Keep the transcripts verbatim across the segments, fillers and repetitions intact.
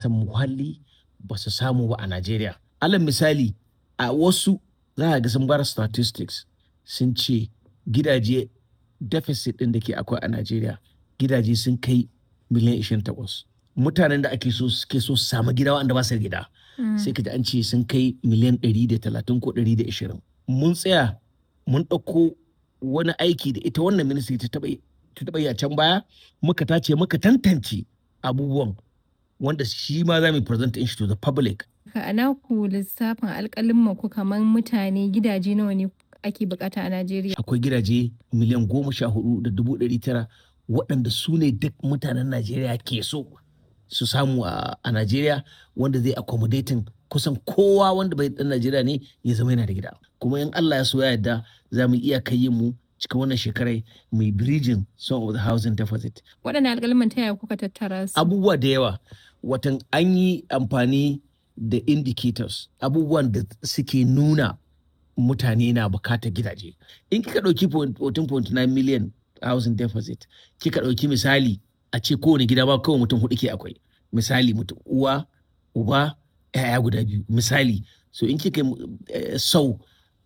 Muhalli ba su samu ba a Najeriya. Alal misali, a wasu za ka ga sun bar statistics sun ce gidaje deficit ɗin da ke akwai a Najeriya gidaje sun kai miliyan ishirin da takwas. Mutanen da ake so suke so su samu gida waɗanda ba su da gida. Sai ka ji an ce sun kai miliyan ɗari da talatin ko ɗari da ishirin. Mun tsaya mun ɗauko wani aiki da ita wannan ministry ta taɓa ta taɓa yi a can baya muka tace muka tantance abubuwan wanda shi ma za mu present shi to the public. A naku lissafin alƙalumman ku kamar mutane gidaje nawa ne ake bukata a Najeriya? Akwai gidaje miliyan goma sha hudu da dubu ɗari tara waɗanda su ne duk mutanen Najeriya ke so su samu a, a Najeriya wanda zai accommodating kusan kowa wanda bai ɗan Najeriya ne ya zama yana da gida. Kuma in Allah ya so ya yarda za mu iya kai yin mu cikin wannan shekarai mai bridging some of the housing deficit. Waɗannan alƙalumman ta yaya kuka tattara su? Abubuwa da yawa watan an yi amfani da indicators abubuwan da suke nuna mutane na bukatar gidaje. In kika ɗauki fourteen point nine million housing deficit kika ɗauki misali a ce kowane gida ba kawai mutum hudu ke akwai misali mutum uwa uba ‘ya'ya guda biyu misali so in kika sau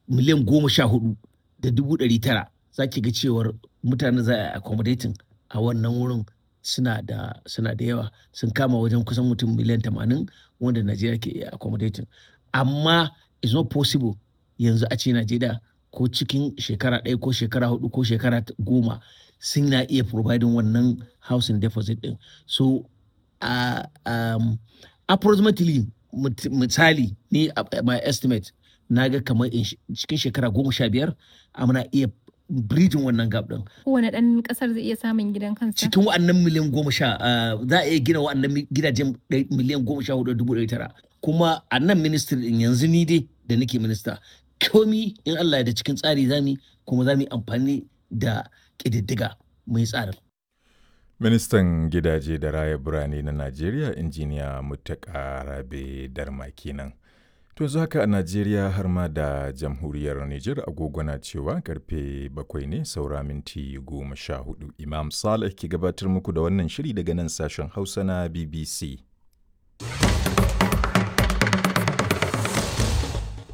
miliyan goma sha hudu da dubu ɗari tara za ki ga cewar mutane za a accommodating a wannan wurin suna da suna da yawa sun kama wajen kusan mutum miliyan tamanin wanda Najeriya ke iya accommodating amma it's not possible yanzu a ce Najeriya ko cikin shekara ɗaya ko shekara hudu ko shekara goma sun na iya providing wannan housing deficit din so uh, um, approximately misali ni my estimate na ga kamar cikin shekara goma sha biyar muna iya bridging wannan gap din. Kowane ɗan ƙasar zai iya samun gidan kansa? Cikin wa'annan miliyan goma sha za a iya gina wa'annan gidajen miliyan goma sha hudu dubu ɗari tara. Kuma a nan ministry din yanzu ni dai da nake minista komi in Allah ya da cikin tsari zami kuma za mu yi amfani da ƙididdiga mai tsarin. Ministan gidaje da raya birane na Najeriya injiniya Muttaka Rabe Darma kenan. To yanzu haka a Najeriya har ma da jamhuriyar Nijar agogo na cewa karfe bakwai ne saura minti goma sha hudu. Imam Saleh ke gabatar muku da wannan shiri daga nan sashen Hausa na B B C.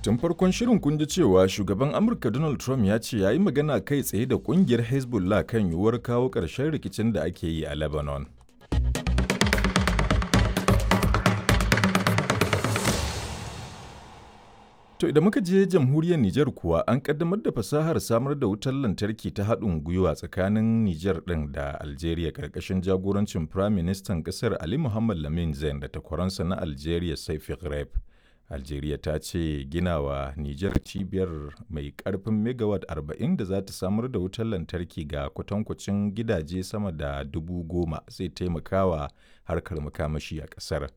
Tun farkon shirin kun ji cewa shugaban Amurka Donald Trump ya ce ya yi magana kai tsaye da kungiyar Hezbollah kan yiwuwar kawo ƙarshen rikicin da ake yi a Lebanon. To idan muka je jamhuriyar Nijar kuwa an kaddamar da fasahar samar da wutar lantarki ta haɗin gwiwa tsakanin Nijar ɗin da Algeria ƙarƙashin jagorancin Prime Minister ƙasar Ali Muhammad Lamin Zain da takwaransa na Algeria Saifi Ghraib. Algeria ta ce ginawa Nijar cibiyar mai ƙarfin megawatt arba'in da za ta samar da wutar lantarki ga kwatankwacin gidaje sama da dubu goma zai taimakawa harkar makamashi a ƙasar.